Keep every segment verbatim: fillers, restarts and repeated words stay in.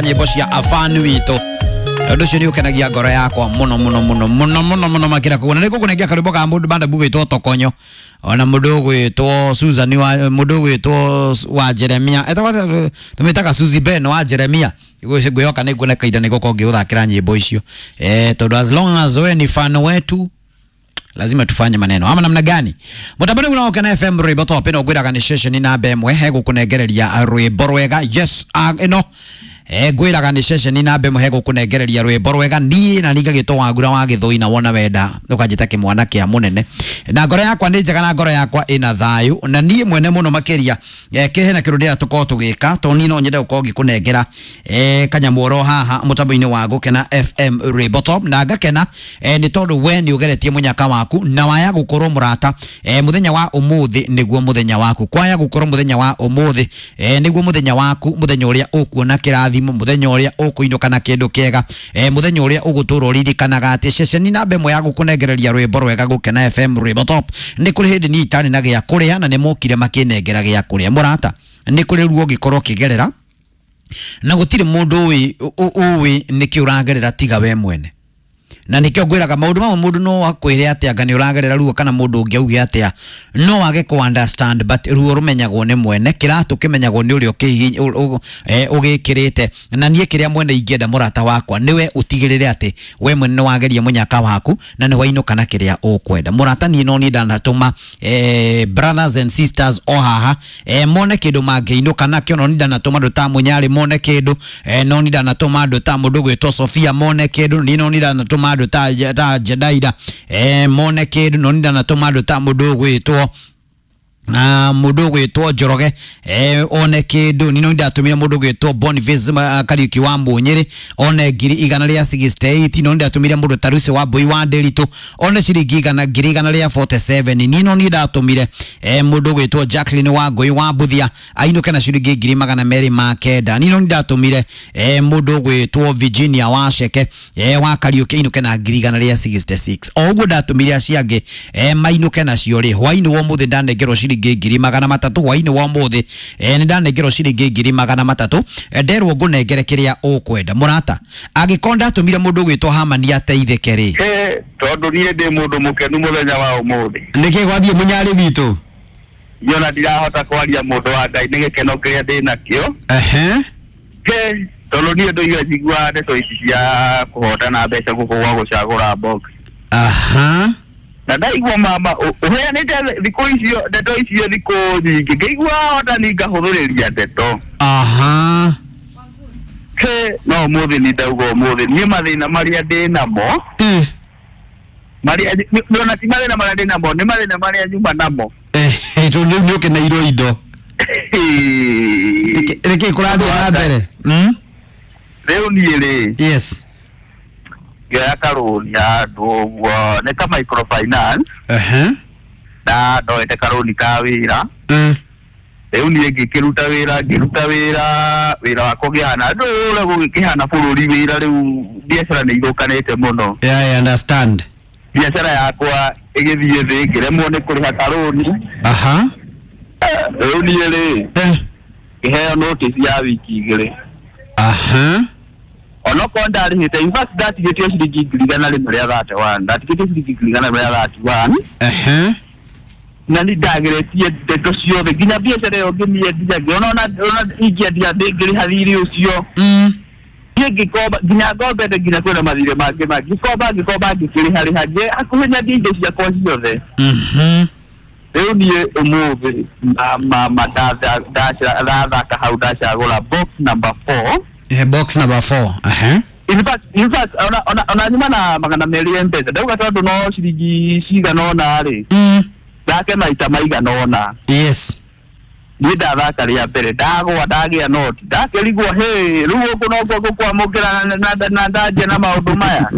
Nyĩmbo cia afani witũ ũndũ ũcio nĩ ũkenagia ngoro yakwa mũno mũno mũno mũno mũno mũno makĩra koguo na nĩ ngũkũnengera karwĩmbo ka mũndũ banda bugĩtwo tokonyo ona mũndũ ũgwĩtwo Susan wa mũndũ ũgwĩtwo wa Jeremia etagwo tũmĩtaga Suzy Ben wa Jeremia ngwĩhoka nĩ nguona kahinda nĩ gũkorwo ngĩgũthakĩra nyĩmbo icio eh tondũ as long as we ni fan wetu lazima tufanye maneno ama namna gani mutabani unaokena F M rwimbo top ino ngwiraga ni session namba ĩmwe hegũkũnengereria rwimbo rwega yes ĩno eh ngwiraga ni session namba ĩmwe hegũkũnengereria rwimbo rwega niĩ na ningagĩtwo Wangura wa Gĩthũi na wona wenda ũkanjĩta kĩmwana kĩa mũnene na ngoro yakwa nĩ njega na ngoro yakwa ĩna thayũ na niĩ mwene mũno makĩria eh kĩhe na kĩrũ ndĩra tũkorwo tũgĩka tondũ niĩ no nyende gũkorwo ngĩkũnengera eh kanyamũ oro haha mũtambo-inĩ wa Gũkena F M rwimbo top na ngakena eh nĩ tondũ we nĩ ũgeretie mũnyaka waku na waya gukorwo murata eh muthenya wa umuthi niguo muthenya waku kwaya gukorwo muthenya wa umuthi eh niguo muthenya waku muthenya uria ukuona kirathimo muthenya uria ukuinuka na kindu kiega eh muthenya uria ugutura uririkanaga ati ceceni namba ĩmwe ya gukunengereria rwimbo rwega Gũkena F M rwimbo top ni kuri hindi ni itari na gĩa kuria na ni mokire makinengera gĩa kuria murata ni kuri ruo ngikorwo kigerera na gutiri mundu uwi uwi niki uragerera tiga we mwene na nikio ngwiraga maundu mamwe mundu no akwire atia anga ni uragerera ruo kana mundu ungi auge atia no age ku understand but ruo rumenyagwo ni mwene kiratu kimenyagwo ni uria ugikirite na nie kiria mwene ingienda murata wakwa niwe utigirire ati we mwene no wageria munyaka waku na ni wainuka na kiria ukwenda murata nie no ni ndanatuma eh, brothers and sisters o haha eh, mone kindu mangeinuka nakio no ni ndanatuma andu ta munyari mone kindu eh, no ni ndanatuma andu ta mundu gwitwo Sofia mone kindu ni no ni ndanatuma andu ta ta Jedaida eh mone kindu no ndanatuma andu ta mundu gwitwo na mundu gwitwo Njoroge eh one kindu nino ndatumire mundu gwitwo Boniface Kariuki wa Munyiri one ngiri igana ria sixty-eight no ndatumire mundu Tarusi wa Mbui wa Ndiritu one ciringi igana ngiri igana ria forty-seven nino ni ndatumire eh mundu gwitwo Jacqueline wa Ngui wa Mbuthia ainuke na ciringi ngiri magana meri ma kenda nino ndatumire eh mundu gwitwo Virginia wa Ceke eh wa Kariuki ainuke na ngiri igana ria sixty-six o uguo ndatumire acio angĩ eh mainuke nacio ri hwaini wa muthi ndanengerwo ciringi ngiri magana matatu hwaini wa muthi eh ni ndanengerwo ciringi ngiri magana matatu nderwo ngunengere kiria ukwenda murata angikorwo ndatumire mundu gwitwo Hamani ateithike ri eh tondu nie ndi mundu mukenu muthenya wa umuthi niki gwathie munyari witu yona ndirahota kwaria mundu wa Ngai ni gikeno kiria ndi nakio ehe he tondu nie ndoiga njigua ndeto ici cia kuhotana mbeca guku gwa gucagura box aha na ndaigua mama uheanite thikũ icio ndeto icio thikũ nyingĩ ngĩigua hota ni ngahũthĩrĩria ndeto aha he no ũmũthĩ ni ndauga ũmũthĩ niĩ mathĩna marĩa ndĩ namo marĩa ona ti mathĩna marĩa ndĩ namo nĩ mathĩna marĩa nyuma namo eh tondũ rĩu nĩ ũkeneirwo indo nĩkĩ kũrathiĩ na mbere rĩu niĩ rĩ yes ngĩoya karũni handũ ũguo nĩ ka microfinance ehe na ndoete karũni ka wĩra rĩu niĩ ngĩkĩruta wĩra ngĩruta wĩra wĩra wakwa ũkĩhana ndũra gũgĩkĩhana bũrũri wĩra rĩu biacara nĩ ithũkanĩte mũno yeah, I understand biacara yakwa ĩgĩthiĩ thĩ ngĩremwo nĩ kũrĩha karũni aha rĩu niĩ rĩ ngĩheo notice ya wiki igĩrĩ aha onokorwo ndarĩhĩte in fact ndatigĩtio ciringi ngiri igana rĩmwe rĩa thirty one ndatigĩtio ciringi ngiri igana rĩmwe rĩa thirty one ehe na nĩ ndageretie ndeto ciothe nginya biacara ĩyo ngĩmĩendia ngĩona ona ona ingĩendia ndĩngĩrĩha thirĩ ũcio niĩ ngĩkomba nginya ngombete nginya kwĩna mathirĩ mangĩ mangĩ ngĩkomba ngĩkomba ngĩkĩrĩha rĩha ngĩ hakuhĩ nyendie indo ciakwa ciothe rĩu niĩ ũmũthĩ mama ndathaka hau ndacagũra box number four Eh, box number four. Uh-huh. In fact, in fact, ona ona ona nyuma na magana meri ya mpesa. Ndauga tondu no ciringi cigana ona ri. Mm. Ndake maita maigana ona. Yes. Ni ndathaka ria mbere ndagwa ndagia noti ndakerigwo he riu guku no kuo gukwamukira na na na ndanje na maundu maya.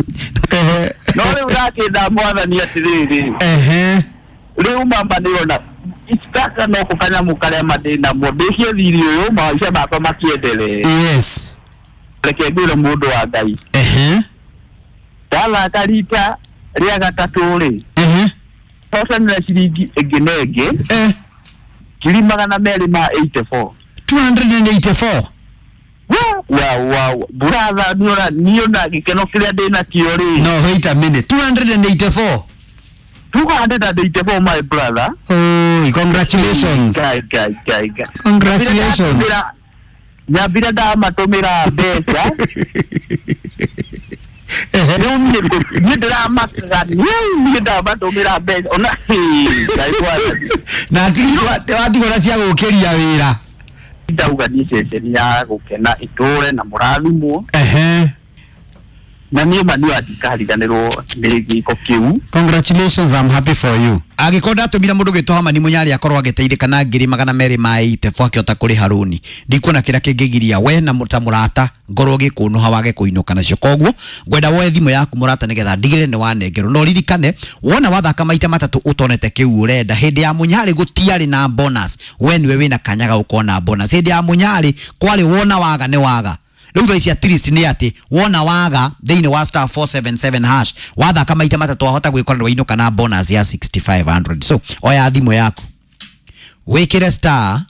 No riu ndakenda mwathani atiriri. Ehe. Riu mamba ndirona itaka no kukanyamu karia mandĩ namo ndĩkie thiri ũyũ maica makwa makiendelee. Yes. Reke ngwĩre mũndũ wa Ngai ehe ndathaka rita rĩa gatatũ rĩ ehe hotanĩra ciringi ĩngĩ na ĩngĩ eh ngiri magana merĩ ma eighty four two hundred eighty-four. Wa wa brother, niona niona gĩkeno kĩrĩa ndĩ nakĩo rĩ. No, wait a minute, two hundred eighty-four? two hundred eighty-four, my brother. Oh, congratulations. Guy, guy, guy, guy. Congratulations. Nyambire ndamatũmĩra mbeca. Rĩu niĩ niĩ ndĩramakaga, niĩ ndamatũmĩra mbeca ona Ngai mwathani. Na watigwo na cia gũkĩria wĩra. Ndauga niĩ ceceni ya gũkena ĩtũre na mũrathimwo. Ehe. Na niĩ ma niĩ ndikariganĩrwo nĩ gĩko kĩu. Congratulations, I'm happy for you. Angĩkorwo ndatũmire mũndũ gwĩtwo Hamani Mũnyarĩ akorwo agĩteithĩka na ngiri magana merĩ ma eighty-four akĩhota kũrĩha rũni, ndikuona kĩrĩa kĩngĩgiria we na ta mũrata ngorwo gĩkũnũha wage kũinũka nacio. Koguo ngwenda woe thimũ yaku, mũrata, nĩgetha ndigĩrĩre nĩ wanengerwo. No ririkane, wona wathaka maita matatũ ũtonete kĩu ũrenda, hĩndĩ ya Mũnyarĩ gũtiarĩ na bonus. We nĩwe wĩna kanya ga gũkorwo bonus. Hĩndĩ ya Mũnyarĩ kwarĩ wona waga nĩ waga. Rĩu thaa ici at least nĩ atĩ wona waga thĩinĩ wa star four seven seven hash, wathaka maita matatũ, wahota gwĩkora nĩ wainũka na bonus ya six thousand five hundred. So oya thimũ yaku, wĩkĩre star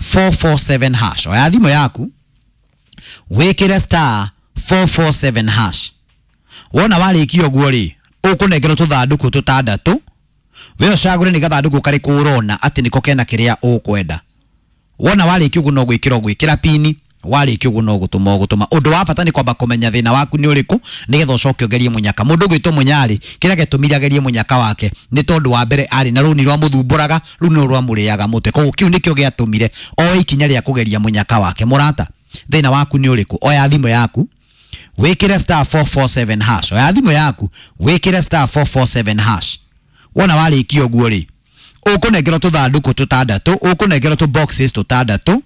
four four seven hash. Oya thimũ yaku, wĩkĩre star four four seven hash. Wona warĩkia ũguo rĩ, ũkũnengerwo tũthandũkũ tũtandatũ. We ũcagũre nĩ gathandũkũ karĩkũ ũrona atĩ nĩko kena kĩrĩa ũkwenda. Wona warĩkia ũguo, no gwĩkĩra ũgwĩkĩra pini. Warĩkia ũguo, no gũtũma ũgũtũma. Ũndũ wa bata nĩ kwamba kũmenya thĩna waku nĩ ũrĩkũ, nĩgetha ũcoke ũgerie mũnyaka. Mũndũ ũgwĩtwo Mũnyarĩ, kĩrĩa gĩatũmire agerie mũnyaka wake nĩ tondũ wa mbere arĩ na rũni rwamũthumbũraga, rũu nĩ rwamũrĩaga mũtwe. Koguo kĩu nĩkĩo gĩatũmire oe ikinya rĩa kũgeria mũnyaka wake. Mũrata, thĩna waku nĩ ũrĩkũ? Oya thimũ yaku, wĩkĩre star four four seven hash. Oya thimũ yaku, wĩkĩre star four four seven hash. Wona warĩkia ũguo rĩ, ũkũnengerwo tũthandũkũ tũtandatũ, ũkũnengerwo tũ boxes tũtandatũ.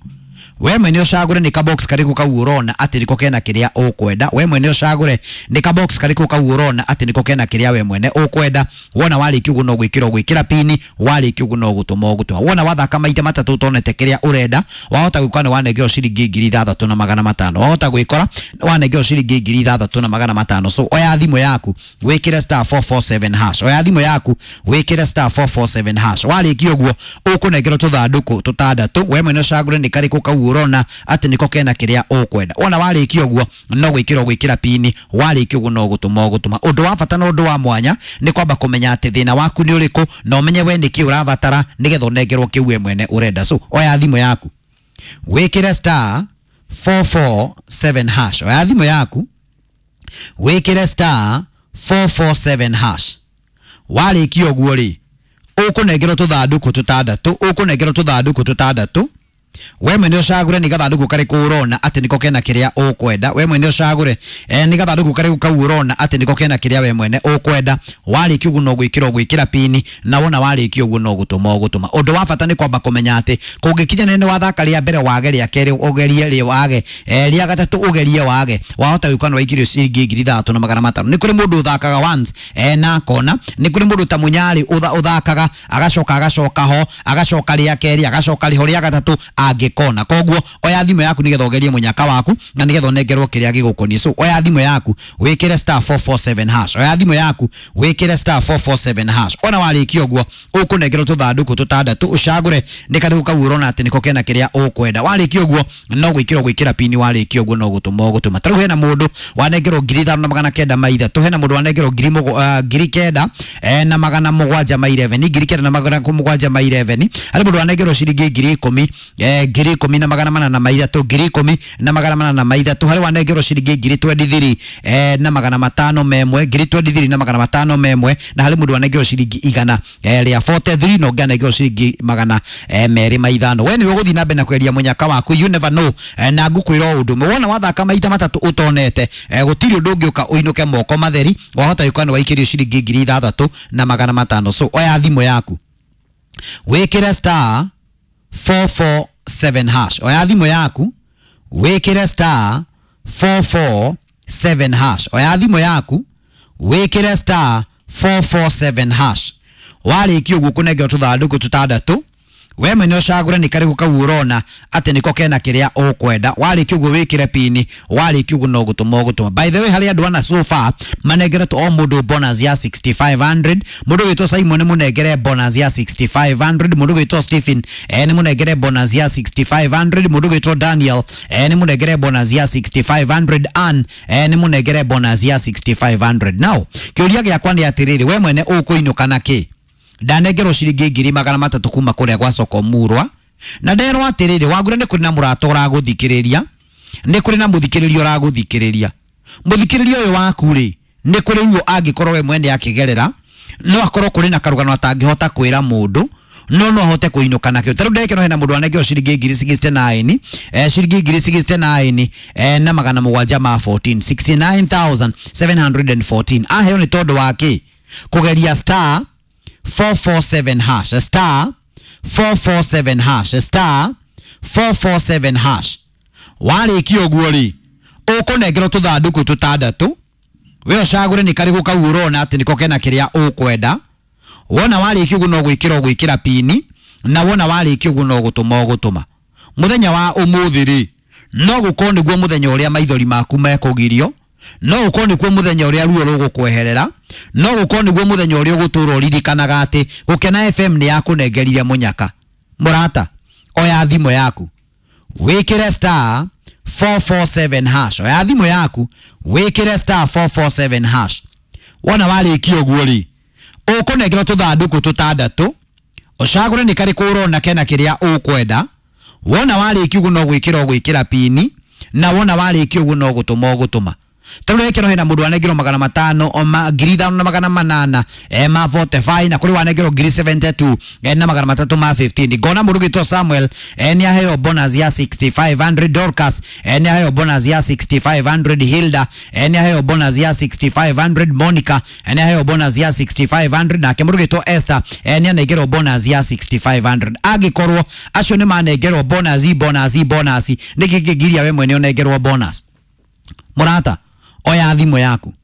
We mwene ũcagũre nĩ ka box karĩkũ kau ũrona atĩ nĩko kena kĩrĩa ũkwenda. We mwene ũcagũre nĩ ka box karĩkũ kau ũrona atĩ nĩko kena kĩrĩa we mwene ũkwenda. Wona warĩkia ũguo, no gwĩkĩra ũgwĩkĩra pini. Warĩkia ũguo, no gũtũma ũgũtũma. Wona wathaka maita matatũ ũtonete kĩrĩa ũrenda, wahota gwĩkora nĩ wanengerwo ciringi ngiri ithathatũ na magana matano. Wahota gwĩkora nĩ wanengerwo ciringi ngiri ithathatũ na magana matano. So oya thimũ yaku, wĩkĩre star four four seven hash. Oya thimũ yaku, wĩkĩre star four four seven hash. Warĩkia ũguo, ũkũnengerwo tũthandũkũ tũtandatũ. We mwene ũcagũre nĩ karĩkũ kau ũrona atĩ nĩko kena kĩrĩa ũkwenda. Wona warĩkia ũguo, no gwĩkĩra ũgwĩkĩra pini. Warĩkia ũguo, no gũtũma ũgũtũma. Ũndũ wa bata na ũndũ wa mwanya nĩ kwamba kũmenya atĩ thĩna waku nĩ ũrĩkũ, na ũmenye we nĩkĩ ũrabatara, nĩgetha ũnengerwo kĩu we mwene ũrenda. So oya thimũ yaku, wĩkĩre star four four seven hash. Oya thimũ yaku, wĩkĩre star four four seven hash. Warĩkia ũguo rĩ, ũkũnengerwo tũthandũkũ tũtandatũ, ũkũnengerwo tũthandũkũ tũtandatũ. We mwene ũcagũre nĩ gathandũkũ karĩkũ ũrona atĩ nĩko kena kĩrĩa ũkwenda. We mwene ũcagũre eh, nĩ gathandũkũ karĩkũ kau ũrona atĩ nĩko kena kĩrĩa we mwene ũkwenda. Warĩkia ũguo, no gwĩkĩra ũgwĩkĩra pini. Na wona warĩkia ũguo, no gũtũma ũgũtũma. Ũndũ wa bata nĩ kwamba kũmenya atĩ kũngĩkinya nĩ wathaka rĩa mbere wage, rĩa kerĩ ũgerie rĩ wage, eh, rĩa gatatũ ũgerie wage, wahota gwĩka nĩ waikĩrio ciringi ngiri ithathatũ na magana matano. Nĩ kũrĩ mũndũ ũthakaga once eh, na akona. Nĩ kũrĩ mũndũ ta Mũnyarĩ ũthakaga agacoka agacoka ho, agacoka rĩa kerĩ, agacoka rĩho rĩa gatatũ angĩkona. Koguo oya thimũ yaku, nĩgetha ũgerie mũnyaka waku na nĩgetha ũnengerwo kĩrĩa gĩgũkoniĩ. So oya thimũ yaku, wĩkĩre star four four seven hash. Oya thimũ yaku, wĩkĩre star four four seven hash. Ona warĩkia ũguo, ũkũnengerwo tũthandũkũ tũtandatũ. Ũcagũre nĩ karĩkũ kau ũrona atĩ nĩko kena kĩrĩa ũkwenda. Warĩkia ũguo, no gwĩkĩra ũgwĩkĩra pini. Warĩkia ũguo, no gũtũma ũgũtũma. Ta rĩu hena mũndũ wanengerwo ngiri ithano na magana kenda ma ithatũ, hena mũndũ wanengerwo ngiri mũgw- ah, ngiri kenda eh, na magana mũgwanja ma eleven, ngiri kenda na magana mũgwanja ma eleven. Harĩ mũndũ wanengerwo ciringi ngiri ikũmi, eh, ngiri ikũmi na magana mana na maithatũ, ngiri ikũmi na magana mana na maithatũ. Harĩ wanengerwo ciringi ngiri twenty-three eh, na magana matano memwe, ngiri twenty-three na magana matano memwe. Na harĩ mũndũ wanengerwo ciringi igana eh, rĩa forty-three, na ũngĩ anengerwo ciringi magana eh, merĩ ma ithano. We nĩwe ũgũthiĩ na mbere na kweria mũnyaka waku, you never know. eh, na ngũkwĩra o ũndũ ũmwe, wona wathaka maita matatũ ũtonete, eh, gũtirĩ ũndũ ũngĩũka ũinũke moko matheri. Wahota gũka nĩ waikĩrio ciringi ngiri ithathatũ na magana matano. So oya thimũ yaku, wĩkĩre star four four seven hash. Oya thimũ yaku, wĩkĩre star four four seven hash. Oya thimũ yaku, wĩkĩre star four four seven hash. Warĩkia ũguo, kũnengerwo tũthandũkũ tũtandatũ. We mwene ũcagũre nĩ karĩkũ kau ũrona atĩ nĩko kena kĩrĩa ũkwenda. Warĩkia ũguo wĩkĩre pini, warĩkia ũguo no gũtũma ũgũtũma. By the way, harĩ andũ ana so far manengeretwo o mũndũ bonus ya six thousand five hundred. Mũndũ wĩtwo Simon nĩ mũnengere bonus ya six thousand five hundred. Mũndũ wĩtwo Stephen eh, nĩ mũnengere bonus ya six thousand five hundred. Mũndũ wĩtwo Daniel eh, nĩ mũnengere bonus ya six thousand five hundred. Ann eh, nĩ mũnengere bonus ya six thousand five hundred. Now kĩũria gĩakwa nĩ atĩrĩrĩ, we mwene ũkũinũka na kĩ? Ndanengerwo ciringi ngiri magana matatũ kuma kũrĩa gwa soko murwa, na nderwo atĩrĩrĩ, Wangũre, nĩ kũrĩ na mũrata ũragũthikĩrĩria, nĩ kũrĩ na mũthikĩrĩria ũragũthikĩrĩria. Mũthikĩrĩria ũyũ waku rĩ, nĩ kũrĩ ruo angĩkorwo we mwene akĩgerera, no akorwo kũrĩ na karũgano atangĩhota kwĩra mũndũ, no no ahote kũinũka nakĩo. Ta rĩu ndekĩro hena mũndũ anengerwo ciringi ngiri sixty-nine, eh, ciringi ngiri sixty-nine eh, na magana mũgwanja ma fourteen, sixty-nine thousand seven hundred fourteen. Aheo nĩ tondũ wa kĩ? Kũgeria star four four seven hash, star four four seven hash, star four four seven hash. Warĩkia ũguo rĩ, ũkũnengerwo tũthandũkũ tũtandatũ. We ũcagũre nĩ karĩkũ kau ũrona atĩ nĩko kena kĩrĩa ũkwenda. Wona warĩkia ũguo no gwĩkĩra ũgwĩkĩra pini, na wona warĩkia ũguo no gũtũma ũgũtũma. Mũthenya wa ũmũthĩ rĩ, no gũkorwo nĩguo mũthenya ũrĩa maithori maku mekũgirio, no gũkorwo nĩkuo mũthenya ũrĩa ruo rũgũkweherera, no gũkorwo nĩguo mũthenya ũrĩa ũgũtũra ũririkanaga atĩ Gũkena F M nĩ yakũnengerire mũnyaka. Mũrata, oya thimũ yaku wĩkĩre star four four seven hash. Oya thimũ yaku wĩkĩre star four four seven hash. Wona warĩkia ũguo rĩ, ũkũnengerwo tũthandũkũ tũtandatũ. Ũcagũre nĩ karĩkũ ũrona kena kĩrĩa ũkwenda. Wona warĩkia ũguo no gwĩkĩra ũgwĩkĩra pini, na wona warĩkia ũguo no gũtũma ũgũtũma. Tondũ rekero hena mũndũ anengerwo magana matano oma ngiri ithano na magana manana eh, ma forty-five, na kũrĩ wanengerwo ngiri seventy-two eh, na magana matatũ ma fifteen. Ngona mũndũ gĩtwo Samuel eh, nĩ aheo bonus ya six thousand five hundred. Dorcas eh, nĩ aheo bonus ya six thousand five hundred. Hilda eh, nĩ aheo bonus ya six thousand five hundred. Monica eh, nĩ aheo bonus ya six thousand five hundred. Nake mũndũ gĩtwo Esther eh, nĩ anengerwo bonus ya six thousand five hundred. Angĩkorwo acio nĩ manengerwo bonus, bonus, bonus, nĩkĩ kĩngiria we mwene ũnengerwo bonus? Mũrata, oya thimũ yaku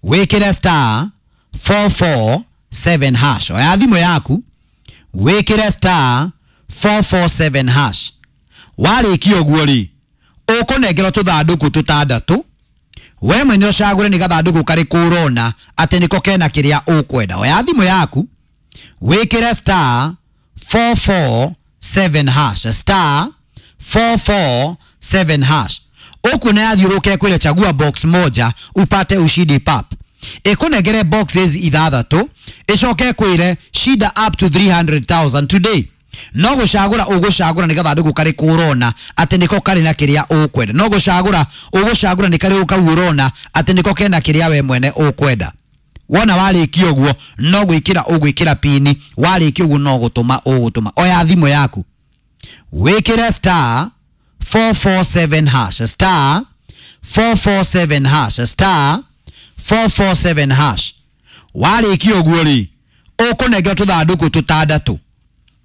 wĩkĩre star four four seven hash. Oya thimũ yaku wĩkĩre star four four seven hash. Warĩkia ũguo rĩ, ũkũnengerwo tũthandũkũ tũtandatũ. We mwene ũcagũre nĩ gathandũkũ karĩkũ ũrona atĩ nĩko kena kĩrĩa ũkwenda. Oya thimũ yaku wĩkĩre star four four seven hash, star four four seven hash. Ũkuona yathiũrũke kwĩre chagua box moja upate ushindi pap. Ĩkũnengere boxes ithathatũ, ĩcoke kwĩre shinda up to three hundred thousand today. No gũcagũra ũgũcagũra nĩ gathandũkũ karĩkũ ũrona atĩ nĩko karĩ na kĩrĩa ũkwenda. No gũcagũra ũgũcagũra nĩ karĩkũ kau ũrona atĩ nĩko kena kĩrĩa we mwene ũkwenda. Wona warĩkia ũguo no gwĩkĩra ũgwĩkĩra pini, warĩkia ũguo no gũtũma ũgũtũma. Oya thimũ yaku wĩkĩre star four four seven hash, star four four seven hash, star four four seven hash. Warĩkia ũguo rĩ, ũkũnengerwo tũthandũkũ tũtandatũ.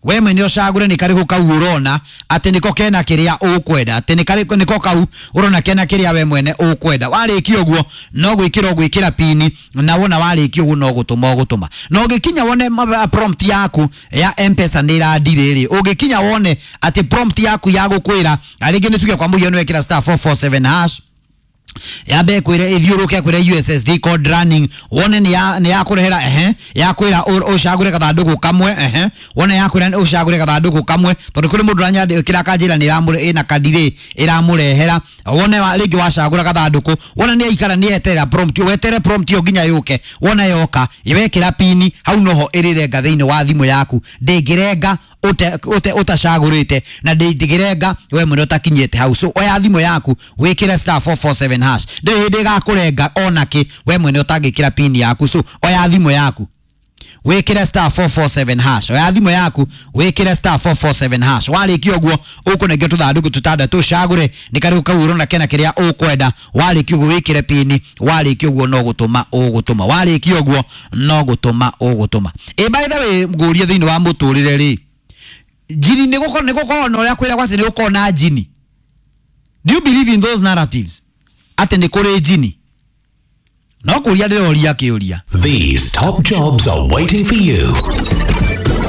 We mwene ũcagũre nĩ karĩkũ kau ũrona atĩ nĩko kena kĩrĩa ũkwenda, atĩ nĩ karĩkũ nĩko kau ũrona kena kĩrĩa we mwene ũkwenda. Warĩkia ũguo no gwĩkĩra ũgwĩkĩra pini, na wona warĩkia ũguo no gũtũma ũgũtũma. Na ũngĩkinya wone ma- prompt yaku ya M-Pesa nĩ ĩradirĩ rĩ, ũngĩkinya wone atĩ prompt yaku ya gũkwĩra rĩngĩ nĩ tuge kwa mũhiano wekĩra star four four seven hash, yambe kwire ithiũrũke kwire U S S D code running, wone nĩ ya nĩ yakũrehera, ehe, yakwĩra ũcagũre gathandũkũ kamwe, ehe, wone yakwĩra ũcagũre gathandũkũ kamwe, tondũ kũrĩ mũndũ ũranyandĩkĩra akanjĩra nĩ ĩramũre ĩna kadire ĩramũrehera. Wone wa- rĩngĩ wacagũra gathandũkũ, wona nĩ aikara nĩ eterera prompt, wetere prompt ĩyo nginya yũke. Wona yoka, wekĩra pini hau noho ĩrĩrenga thĩinĩ wa thimũ yaku. Ndĩngĩrenga ute ute utacagũrĩte, na ndĩngĩrenga we mwene ũtakinyĩte hau. So oya thimũ yaku wĩkĩre star four four seven hash. Ndĩrĩ hĩndĩ ĩgakũrenga onakĩ we mwene ũtangĩkĩra pini yaku. So oya thimũ yaku wĩkĩre star four four seven hash. Oya thimũ yaku wĩkĩre star four four seven hash. Warĩkia ũguo ũkũnengera tũthandũkũ tũtandatũ, ũcagũre nĩ karĩkũ kau ũrona kena kĩrĩa ũkwenda. Warĩkia ũguo wĩkĩre pini, warĩkia ũguo no gũtũma ũgũtũma. Warĩkia ũguo no gũtũma ũgũtũma. Ĩ, by the way, ngũrie, thĩinĩ wa mũtũrĩre rĩ, njini nĩ gũkorwo nĩ gũkorwo na ũrĩa kwĩra gwatĩ nĩ gũkorwo na njini? Do you believe in those narratives atĩ nĩ kũrĩ njini? No kũria ndĩroria kĩũria. These top jobs are waiting for you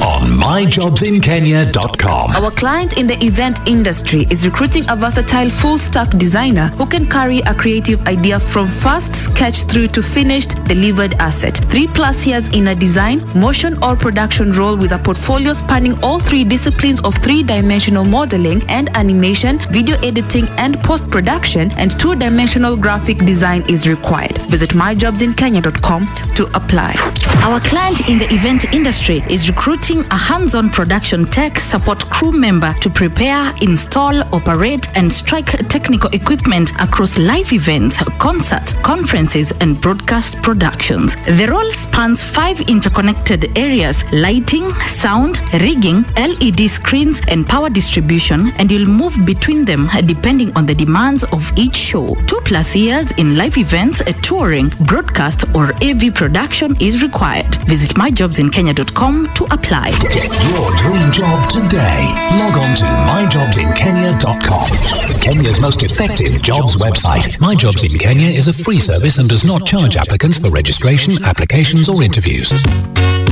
on on my jobs in kenya dot com. Our client in the event industry is recruiting a versatile full-stack designer who can carry a creative idea from first sketch through to finished delivered asset. Three plus years in a design, motion or production role with a portfolio spanning all three disciplines of three-dimensional modeling and animation, video editing and post-production, and two-dimensional graphic design is required. Visit my jobs in kenya dot com to apply. Our client in the event industry is recruiting a hands-on production tech support crew member to prepare, install, operate, and strike technical equipment across live events, concerts, conferences, and broadcast productions. The role spans five interconnected areas: lighting, sound, rigging, L E D screens, and power distribution, and you'll move between them depending on the demands of each show. Two plus years in live events, touring, broadcast, or A V production is required. Visit my jobs in kenya dot com to apply. Get your dream job today. Log on to my jobs in kenya dot com. Kenya's most effective jobs website. My Jobs in Kenya is a free service and does not charge applicants for registration, applications, or interviews.